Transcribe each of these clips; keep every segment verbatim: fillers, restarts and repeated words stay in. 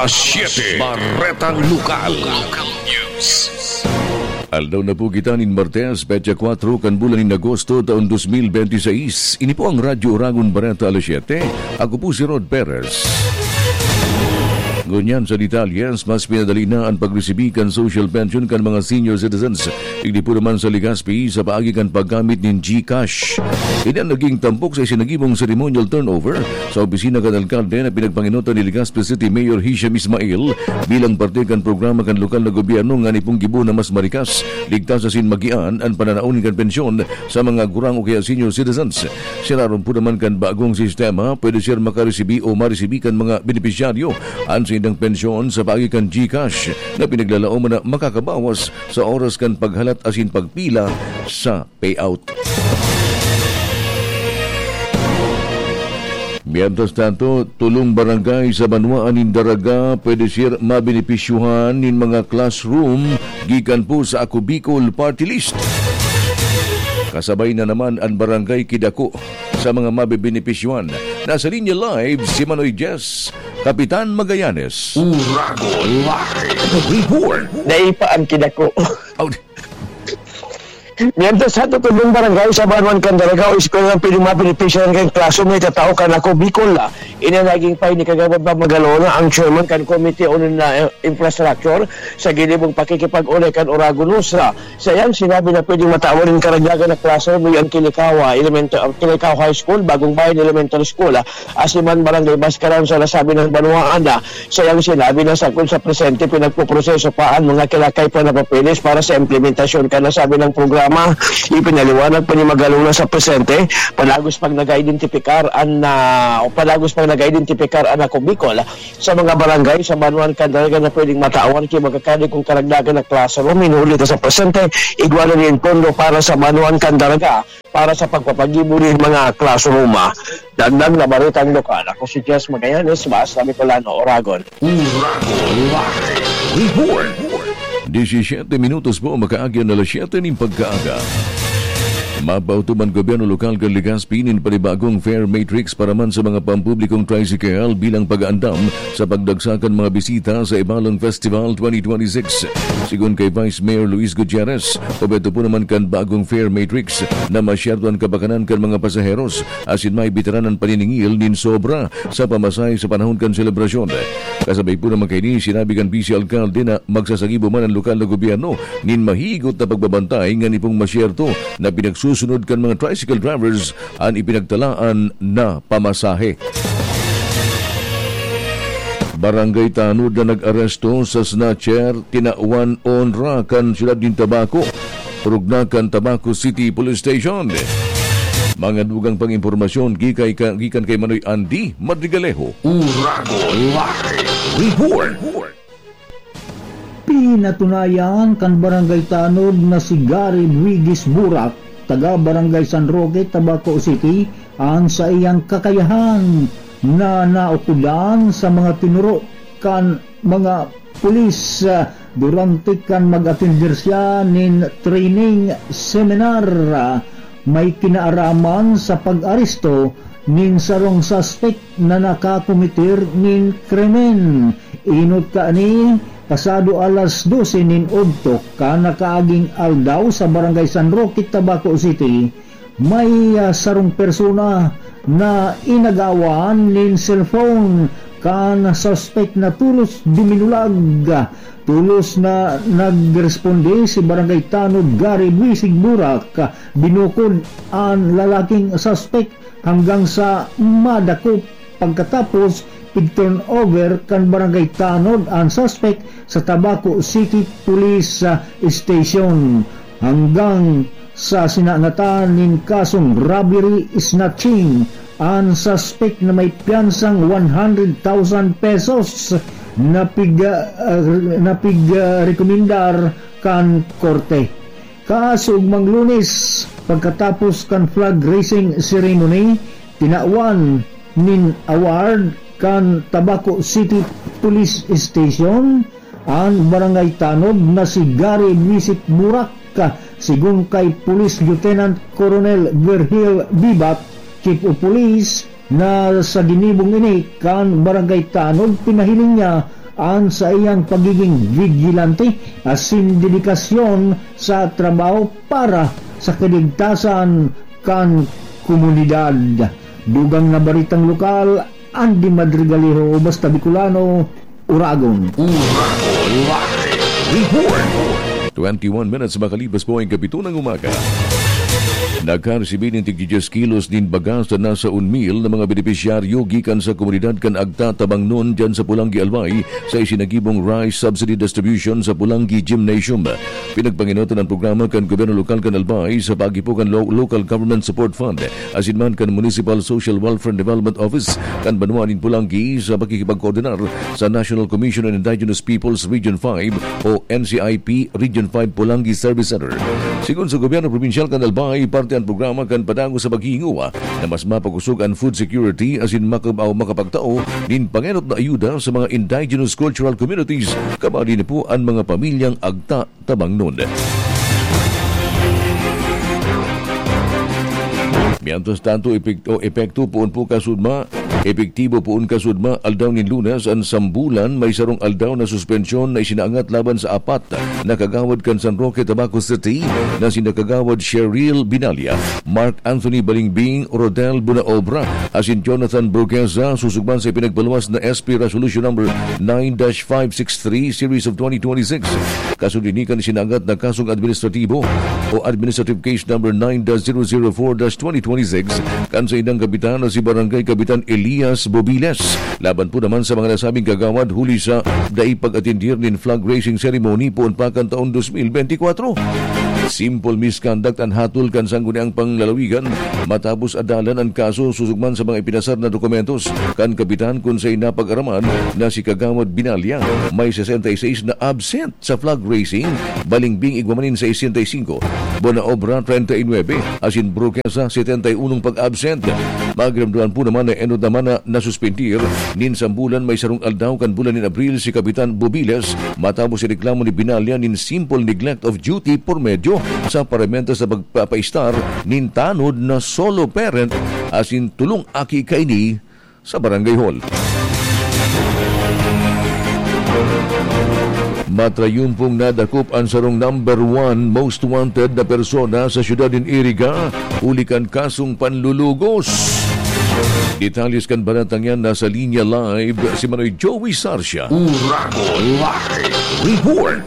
Alas siyete, Baretang Lokal. Aldaw na po kita nin Martes, petsa kwatro kan bulan nin Agosto, taon dos mil benti seis. Ini po ang Radyo Oragon Bareta Alas siyete. Ako po si Rod Perez. Ngunyan sa detalyes, mas pinadali na an pagresibi kan social pension kan mga senior citizens. Digdi po naman sa Legazpi sa paagi kan paggamit nin GCash. Ini an naging tampok sa isinagibong ceremonial turnover sa opisina kan alkalde na pinagpangenotan ni Legazpi City Mayor Hisham Ismail bilang parte kan programa kan lokal na gobyerno ngani pong gibo na mas marikas, ligtas asin magian an pananaon kan pensyon sa mga gurang o kaya senior citizens. Sinaron po naman kan bagong sistema, pwede siya makaresibi o maresibi kan mga benepisyaryo an saindang pensyon sa paagi kan GCash na pinaglalaom na makakabawas sa oras kan paghalat asin pagpila sa payout. Mientras tanto, tolong barangay sa banwaan nin Daraga pwede sir mabenepisyuhan nin mga classroom gikan po sa Ako Bicol Party List. Kasabay na naman an Barangay Kidako sa mga mabebenepisyuhan. Nasa linya live si Manoy Jess, Kapitan Magallanes. Uragon Live Report. Dai pa ang Kidako. Oh, Mientras sa tutubong barangay sa Banwan kan Daraga o eskwela ng pwedeng mabenepisyahan kan klase may tatao kan Ako Bicol. Ini naging pay ni Kagawad Pamagalona, ang chairman kan Komite on na Infrastructure, sa ginibong pakikipag-unay kan Oragon Nuestra. Sa iyang sinabi na pwedeng matawan nin karagdagan na klase may ang Kilikawa, Elemento-, Kilikawa High School, Bagong Bayan Elementary School, asin man Barangay Bascaran sa nasabing banwaan na. Sa iyang sinabi na sagkod sa presente, pinagpoproseso pa an mga kinakaipuhan na papeles para sa implementasyon kan nasabing programa. Ipinaliwanag pa ni Magalona sa presente, padagos pang nag-identipikar an, ah, o padagos pang nag-identipikar an Ako Bicol sa mga barangay sa Banwan kan Daraga na pwedeng matawan ki magkakadi kung karagdagan na classroom. Hinuli ta sa presente, igwa na nin pondo para sa Banwan kan Daraga para sa pagpapagibo nin mga classroom. Dagdag na baretang lokal, ako si Jess Magallanes, Basta Bicolano, Oragon. Uragon Live Report. Disisyete minutos po, makaagyan na alas siyete nin pagkaaga. Mapautuman gobyerno lokal kan Legazpi nin panibagong fare matrix para man sa mga pampublikong tricycle bilang pag-aandam sa pagdagsa kan mga bisita sa Ibalang Festival twenty twenty-six. Sigon kay Vice Mayor Luis Gutierrez, obheto po naman kan bagong fare matrix na masyerto an kabakanan kan mga pasaheros asin maibitaran an paniningil nin sobra sa pamasahe sa panahon kan selebrasyon. Kasabay po naman kaini, sinabi kan Vice Alcalde na magsasagibo man an lokal na gobyerno nin mahigot na pagbabantay ngani pong masyerto na pinagsusunod kan mga tricycle drivers an ipinagtalaan na pamasahe. Barangay Tanod na nag-aresto sa snatcher, tinawan onra kan siyudad nin Tabaco, rugna kan Tabaco City Police Station. Mga dugang pang impormasyon gikay ka, gikan kay Manoy Andy Madrigalejo. Uragon Live Report. Pinatunayan kan Barangay Tanod na si Gary Luigis Burak, taga Barangay San Roque, Tabaco City, an saiyang kakayahan na naukodan sa mga tinuro kan mga pulis, ah, durante kan mag-atender siya nin training seminar, ah, may kinaaraman sa pag-aresto nin sarong suspek na nakakometer nin krimen. Inot kaini, pasado alas dose nin udto kan nakaaging aldaw sa Barangay San Roque, Tabaco City, may, ah, sarong persona na inagawan nin cellphone kan suspek na tolos duminulag. Tolos na nagresponde si Barangay Tanod Gary Buisig Burak. Binukod an lalaking suspek hanggang sa madakop. Pagkatapos, pig-turnover kan Barangay Tanod an suspek sa Tabaco City Police, ah, Station. Hanggang sa sinangatan nin kasong robbery snatching an suspek na may piyansang one hundred thousand pesos na pig-, ah, na pig-, ah, rekomendar kan korte. Kaso ugmang Lunes, pagkatapos kan flag raising ceremony, tinawan nin award kan Tabaco City Police Station an Barangay Tanod na si Gary Luisik Burak, sigon kay Police Lieutenant Colonel Virgil Bibat, Chief of Police, na sa ginibong ini kan Barangay Tanod, pinahiling niya an saiyang pagiging vigilante asin dedikasyon sa trabaho para sa kaligtasan kan komunidad. Dugang na baritang lokal, Andy Madrigalejo, Basta Bicolano, Uragon. Uragon Live Report. Twenty-one minutes makalipas po ang kapito ng umaga. Nakaresibi nin tig-dyes kilos nin bagas na nasa unmil na mga benepisyaryo gikan sa komunidad kan Agta Tabangnon dyan sa Pulanggi, Albay, sa isinagibong rice subsidy distribution sa Pulanggi Gymnasium. Pinagpanginotan ang programa kan gobyerno lokal kan Albay sa pag-ipo kan Lo-, Local Government Support Fund asin man kan Municipal Social Welfare and Development Office kan banwa nin Pulanggi sa pakikipagkoordinar sa National Commission on Indigenous Peoples Region five o N C I P Region five Pulanggi Service Center. Sigon sa gobyerno probinsyal kan Albay, parte an programa kan padagos sa paghihingowa na mas mapakosog an food security asin makab-, o makapagtao nin pangenot na ayuda sa mga indigenous cultural communities, kabali na po an mga pamilyang Agta Tabangnon. Mientras tanto, epek-, o epekto poon po kasudma, epektibo poon kasudma, aldaw nin Lunes, an sambulan may sarong aldaw na suspensyon na isinaangat laban sa apat na kagawad kan San Roque, Tabaco City, na sina Kagawad Cheryl Binalia, Mark Anthony Balingbing, Rodel Bunaobra, asin Jonathan Burguesa, susugman sa pinagpaluwas na S P Resolution Number nine dash five six three Series of twenty twenty-six. Kasunod ini kan isinangat na kasong administratibo o Administrative Case Number nine dash zero zero four dash twenty twenty-six kan saindang kapitan na si Barangay Kapitan Elias Bobiles. Laban po naman sa mga nasabing kagawad huli sa dai pag-atendir nin flag raising ceremony poon pa kan taon dos mil benti kwatro. Simple misconduct an hatol kan sangguniang panglalawigan matapos adalan an kaso susugman sa mga ipinasar na dokumentos kan kapitan kun saen napag-araman na si Kagawad Binalya may sesenta y seis na absent sa flag raising, Balingbing igwa man nin sesenta y singko, Buenaobra treinta y nuebe, asin Burguesa setenta y unong pag-absent. Magramdaman po naman na enot naman na nasuspendir nin sambulan may sarong aldaw kan bulan nin Abril si Kapitan Bobiles matapos ireklamo ni Binalya nin simple neglect of duty por medio sa paramenta sa pagpapaistar nin tanod na solo parent asin tolong aki kaini sa barangay hall. Matrayumpong nadakop an sarong number one most wanted na persona sa siyudad nin Iriga huli kan kasong panlulugos. Detalles kan baretang yan nasa linya live si Manoy Joey Sarsia. Uragon Live Report.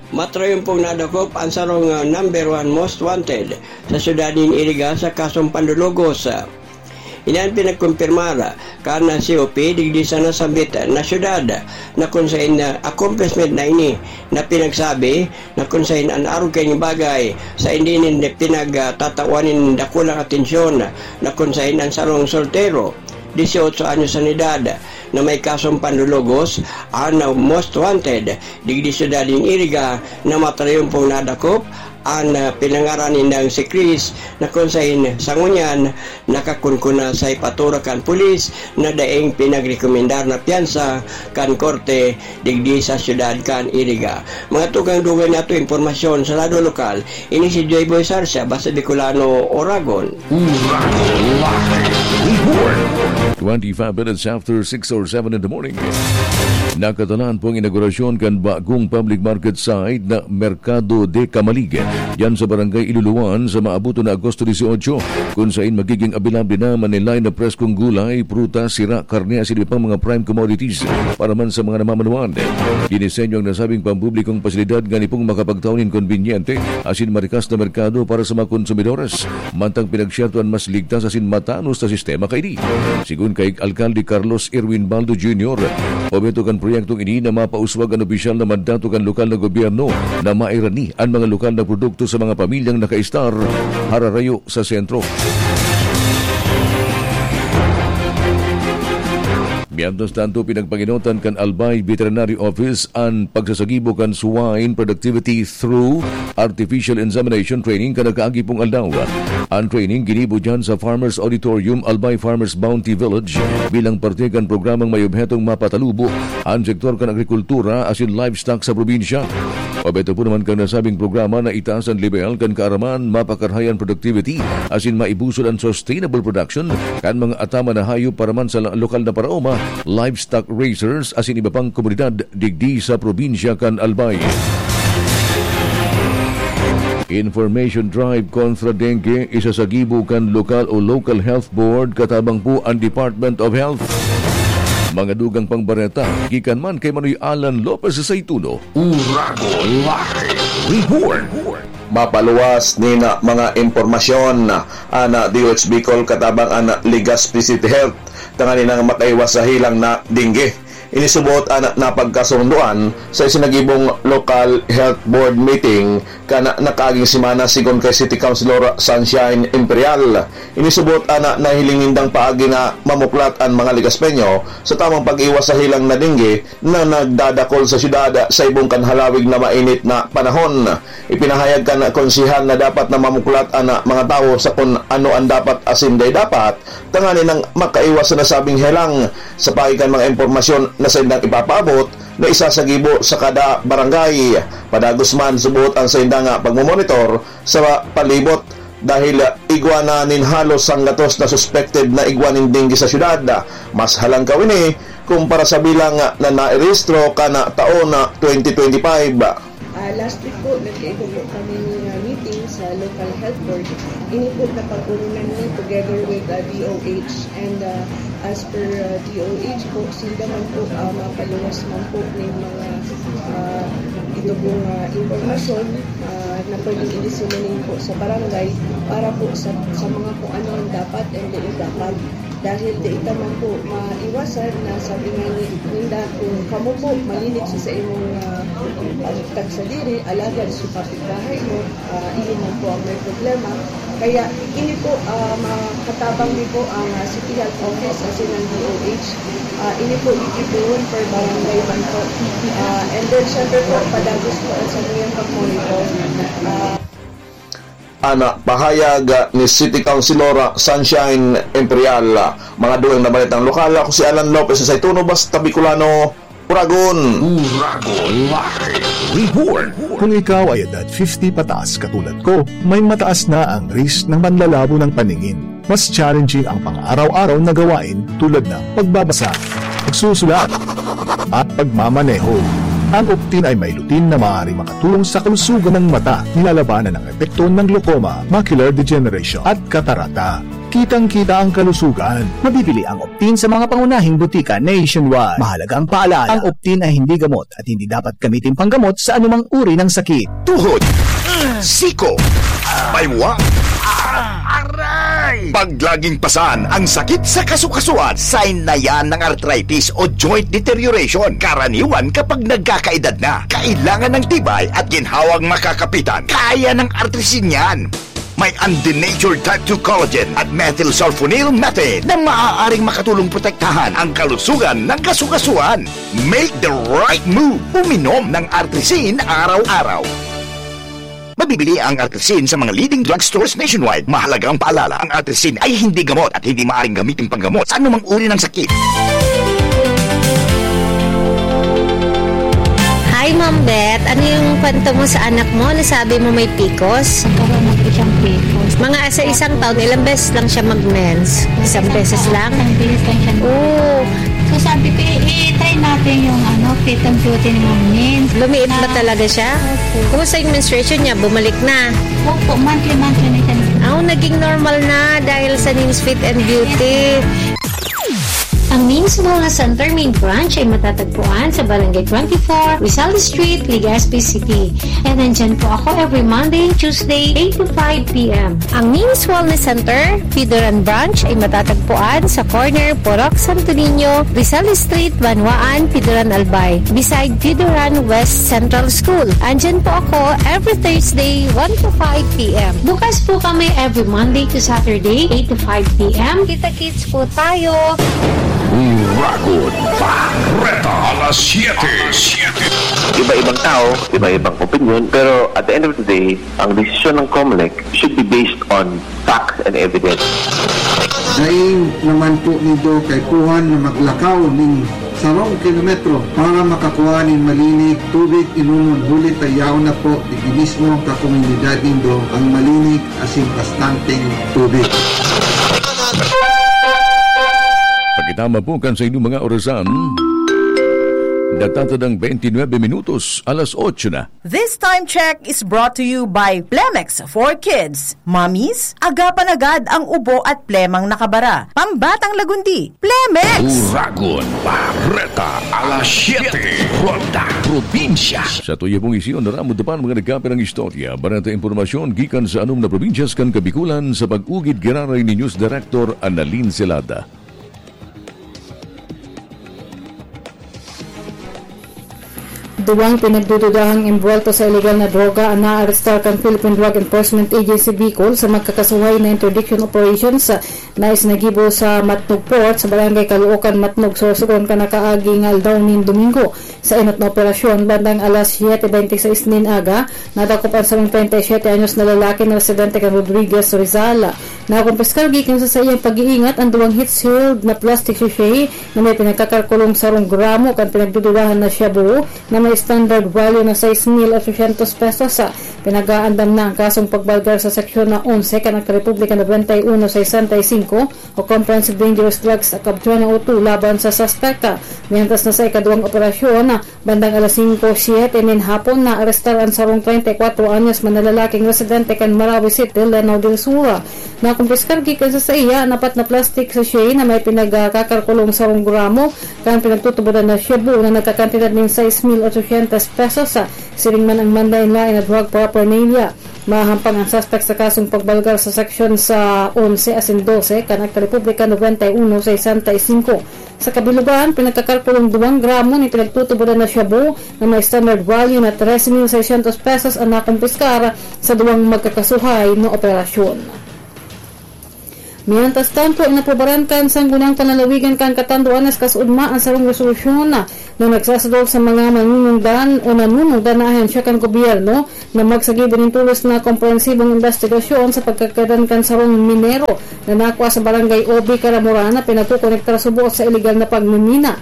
Matrayumpong nadakop an sarong, ah, number one most wanted sa siyudad nin Iriga sa kasong panlulugos. Ini an pinagkumpirmar kan C O P digdi sa nasambit na syudad na kun saen, ah, accomplishment na ini na pinagsabi na kun saen an arog kaini bagay sa hindi nin pinagtatawan nin dakulang atensyon na kun saen an sarong soltero, dieciocho anyos an edad, na may kasong panlulugos, an most wanted digdi syudad nin Iriga na matrayumpong nadakop an, ah, pinangaran nindang si Chris, na kun saen sa ngunyan nakakunkuna sa ipatura kan pulis na daing pinagrekomendar na piyansa kan korte digdi sa syudad kan Iriga. Mga tugang, dugay na ato impormasyon sa lado lokal, ini si Joy Boy Sarsia, Basta Bicolano, Oragon. Uragon Live Report. Twenty-five minutes after six or seven in the morning. Nakatalaan po ang inaugurasyon kan bagong public market site na Mercado de Camalig, diyan sa Barangay Iluluan, sa maabutan na Agosto dieciocho, kung sain magiging available na manilay na preskong gulay, prutas, sira, karne, asin iba pang mga prime commodities para man sa mga namamanuan. Dinisenyo ang nasabing pampublikong pasilidad ngani pong makapagtao nin konbinyente asin marikas na merkado para sa mga konsumidores, mantang pinagsiyerto an mas ligtas asin matanos na sistema kaini. Sigon kay Alkalde Carlos Erwin Baldo Junior, obheto kan proyektong ini na mapauswag an opisyal na mandato kan lokal na gobyerno na mairani an mga lokal na produkto sa mga pamilyang nakaistar hararayo sa sentro. Mientras tanto, pinagpanginotan kan Albay Veterinary Office an pagsasagibo kan swine productivity through artificial insemination training kan nakaagi pong aldaw. An training ginibo diyan sa Farmers Auditorium, Albay Farmers Bounty Village, bilang parte kan programang may obhetong mapatalubo an sektor kan agrikultura asin livestock sa probinsya. Obheto po naman kan nasabing programa na itaas an lebel kan kaaraman, mapakarahay an productivity, asin maibusol an sustainable production kan mga ataman na hayop para man sa la-, lokal na paraoma, livestock raisers, asin iba pang komunidad digdi sa probinsya kan Albay. Information drive kontra dengue isasagibo kan lokal o local health board katabang po an Department of Health. Mga dugang pang bareta, gikan man kay Manoy Alan Lopez sa Ituno. Uragon Live Report. Mapaluwas nin mga impormasyon an D O H Bicol katabang an Legazpi City Health tanganing makaiwas sa helang na dengue. Ini subot an napagkasundoan sa isinagibong local health board meeting kan nakaaging semana, sigon kay City Councilor Sunshine Imperial. Ini subot an nahiling nindang paagi na mamuklat an mga Legazpeño sa tamang pag-iwas sa helang na dengue na nagdadakol sa syudad sa ibong kan halawig na mainit na panahon. Ipinahayag kan konsehal na dapat na mamuklat an mga tawo sa kun ano an dapat asin dai dapat, tanganing makaiwas sa nasabing helang. Sa paagi kan mga impormasyon na saindang ipapaabot, na isasagibo sa kada barangay. Padagos man, subot an saindang pagmomonitor sa palibot dahil igwa na nin halos sanggatos na suspected na igwa nin dengue sa syudad. Mas halangkaw ini kumpara sa bilang na nairehistro kan taon na twenty twenty-five. Ah, last week po, nagkaigwa po kami ng, ah, meeting sa local health board. Ini po napag-urunan niya together with, ah, D O H. And, ah, as per, ah, D O H po, sila man po, ah, mapaluwas man po ng mga, ah, ito pong, ah, impormasyon, ah, na pwedeng i-disseminate po sa barangay para po sa, sa mga kung ano ang dapat and dai dapat. Dahil dai ta man po maiwasan na sabi nga ni, ninda, kung kamo po malinis sa imong, ah, pagtagsadiri, alagad sa kapitbahay mo, ah, ini man po ang may problema. Kaya ini po, ah, makatabang ni po ang, ah, City Health Office asin ang D O H. Ah, ini po gigibohon per barangay man po. Ah, and then, syempre po, padagos po ang sa inyong pag-monitor. Ah, Ana pahayag ni City Councilor Sunshine Imperial. Mga dugang na balitang lokal, ako si Alan Lopez sa Ituno, basta Bicolano, Uragon. Uragon Live Report. Kung ikaw ay edad fifty pataas katulad ko, may mataas na ang risk ng panlalabo ng paningin. Mas challenging ang pang-araw-araw na gawain tulad ng pagbabasa, pagsusulat, at pagmamaneho. Ang Optin ay may lutein na maaaring makatulong sa kalusugan ng mata, nilalabanan ang epekto ng glaucoma, macular degeneration, at katarata. Kitang-kita ang kalusugan. Mabibili ang Optin sa mga pangunahing butika nationwide. Mahalagang paalala, ang Optin ay hindi gamot at hindi dapat gamitin panggamot sa anumang uri ng sakit. Tuhod, siko, baywa, aray! Pag laging pasan ang sakit sa kasukasuan, sign na yan ng arthritis o joint deterioration. Karaniwan kapag nagkakaedad na, kailangan ng tibay at ginhawang makakapitan. Kaya ng Artrisin yan. May undenatured type two collagen at methylsulfonyl methane na maaaring makatulong protektahan ang kalusugan ng kasukasuan. Make the right move. Uminom ng Artrisin araw-araw. Mabibili ang Artrisin sa mga leading drugstores nationwide. Mahalagang paalala, ang Artrisin ay hindi gamot at hindi maaaring gamitin panggamot sa anumang uri ng sakit. Hi, Ma'am Beth. Ano yung kwento mo sa anak mo? Nasabi mo may picos? Nagkaroon na po siyang picos. Mga sa isang taon, ilang beses lang siya mag-mens? Isang beses lang? Isang beses lang siya. Oo. So, sabi ko, "I-, i-try natin yung, ano, fit and beauty ni Ma'am Min." Lumiit ba Na talaga siya? Opo. Kumusta yung menstruation niya? Bumalik na? Opo, monthly, monthly na siya. Ah, naging normal na dahil sa Min's Fit and Beauty. Ang Min's Wellness Center main branch ay matatagpuan sa Barangay twenty-four, Rizal Street, Legazpi City. And nandyan po ako every Monday and Tuesday, eight to five p m. Ang Min's Wellness Center, Pidoran Branch, ay matatagpuan sa corner Purok Santo Niño, Rizal Street, Banwaan, Pidoran, Albay, beside Pidoran West Central School. Andyan po ako every Thursday, one to five p m. Bukas po kami every Monday to Saturday, eight to five p m. Kita-kits po tayo. Uragon Barreta, alas siyete. Iba-ibang tao, iba-ibang opinion, pero at the end of the day, ang desisyon ng Comelec should be based on facts and evidence. Dai naman po nindo kaipuhan na maglakaw nin Sarong kilometro para makakua nin malinig tubig inomon, huli ta yaon na po digdi mismo kan komunidad nindo an malinig asin bastanteng tubig. Pagkitama po kan sa inyong mga orasan, natatadang twenty-nine minutos, alas otso na. This time check is brought to you by Plemex for Kids. Mommies, agapan agad ang ubo at plemang nakabara. Pambatang lagundi, Plemex! Uragon, Bareta, alas siyete, Ronda, Probinsya. Sa tuya pong isyon, naramo dapan mga nagkapirang istorya, bareta, impormasyon gikan sa anom na probinsyas kan Kabikulan sa pag-ugid giraray ni News Director Annalyn Celada. Duwang pinagdududahang imbuwelto sa iligal na droga an naarestar kan Philippine Drug Enforcement Agency Bicol sa magkakasuhay na interdiction operations na isinagibo sa Matnog Port, sa Barangay Caloocan, Matnog, Sorsogon, kan nakaaging aldaw nin Domingo. Sa enot na operasyon, bandang alas siyete bente y seis nin aga, nadakop an sarong treinta y siete anyos na lalaki na residente kan Rodriguez, Rizal. Nakumpiskar gikan sa saiyang pag-iingat an duwang heat-sealed na plastic sachet na may pinagkakalkulong sarong gramo kan pinagdududahan na shabu na may standard value na sais mil otsosyentos pesos. Pinag-aandam na ang kasong pagbalgar sa Seksyon na onse kan Akta Republika nobenta y uno sesenta y cinco o Comprehensive Dangerous Drugs Act of twenty oh two laban sa suspek. Mientras na sa ikaduwang operasyon, bandang alas singko siyete nin hapon, naarestar an sarong treinta y cuatro anyos na lalaking residente kan Marawi City, Lanao del Sur. Nakumpiskar gikan sa saiya an apat na plastic sachet na may pinagkakalkulong sarong gramo kan pinagtutubodan na shabu na nagkakantidad nin sais mil otsosyentos pesos. Siring man an manlaen-laen na drug paraphernalia. Mahahampang an suspek sa kasong pagbalgar sa seksyon sa onse asin dose kan Akta Republika nobenta y uno sesenta y cinco. Sa kabilugan, pinagkakalkulong duwang gramo nin pinagtutubodan na shabu na may standard value na trese mil seiscientos pesos an nakumpiskar sa duwang magkakasuhay na operasyon. Mientras tanto, inaprobaran kan Sangguniang Panlalawigan kan Catanduanes Kasuodma an sarong resolusyon na, na nagsasadol sa mga manunungdan o nanunungdan na ahensya kan gobyerno na magsagibo nin tolos na komprehensibong imbestigasyon sa pagkagadan kan sarong minero na nakua sa Barangay Obi, Caramoran, na pinagkokonektar subot sa iligal na pagmimina.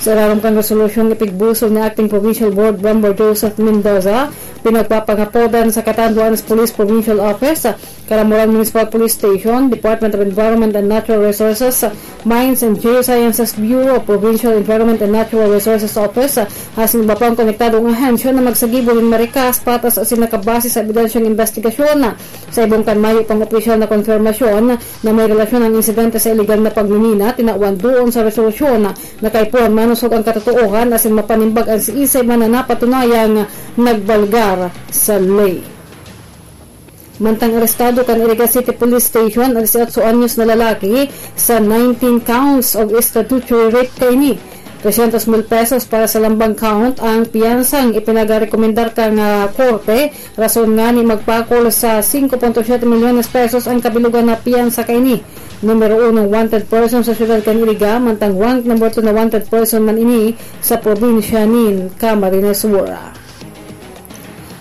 Sa ilarom kan resolusyong ipigbusol ni Acting Provincial Board Member Joseph Mendoza, pinagpapangapodan sa Catanduanes Police Provincial Office, Caramoran Municipal Police Station, Department of Environment and Natural Resources, Mines and Geosciences Bureau, Provincial Environment and Natural Resources Office, asin iba pang konektadong ahensya na magsagibo nin marikas, patas asin nakabase sa ebidensyang imbestigasyon. Sa ibong kan mayo pang opisyal na konfirmasyon na may relasyon ang insidente sa iligal na pagmimina, tinawan doon sa resolusyon na kaipuhan manusog ang katotoohan asin mapanimbag an siisay man na napatunayang nagbalgar sa ley. Mantang arestado kan Iriga City Police Station an dieciocho anyos na lalaki sa nineteen counts of statutory rape kaini. Trescientos mil pesos para sa lambang count ang piyansang ipinagarekomendar kan, ah, korte, rason ngani magpakol sa singko punto siyete milyones pesos ang kabilugan na piyansa kaini. Numero unong wanted person sa siyudad kan Iriga, mantang rank number two na wanted person man ini sa probinsya nin Camarines Sur.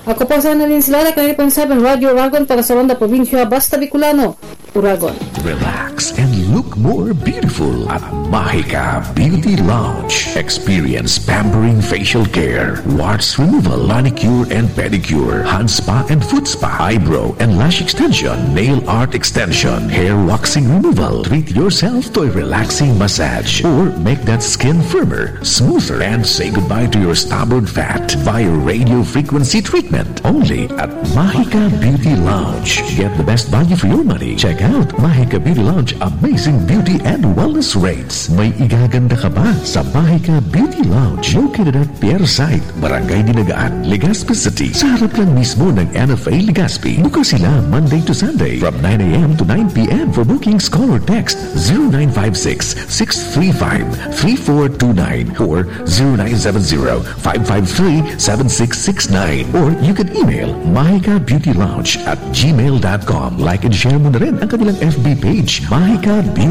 Ako po si Annalyn Silala, Caribe Seven Radyo Uragon, para sa Ronda Probinsya, Basta Bicolano, Uragon. Relax and look more beautiful at Mahika Beauty Lounge. Experience pampering facial care, warts removal, manicure and pedicure, hand spa and foot spa, eyebrow and lash extension, nail art extension, hair waxing removal. Treat yourself to a relaxing massage or make that skin firmer, smoother, and say goodbye to your stubborn fat via radio frequency treatment. Only at Mahika Beauty Lounge. Get the best value for your money. Check out Mahika Beauty Lounge Amazing Beauty and Wellness Rates. May igaganda ka ba sa Mahika Beauty Lounge? Located at Pier Site, Barangay Dinagaan, Legazpi City. Sa harap lang mismo ng N F A Legazpi. Bukas sila Monday to Sunday from nine a m to nine p m. For bookings, call or text zero nine five six, six three five, three four two nine or zero nine seven zero, five five three, seven six six nine. Or you can email mahika beauty lounge at gmail dot com. Like and share mo na rin ang kanilang F B page, Mahika Beauty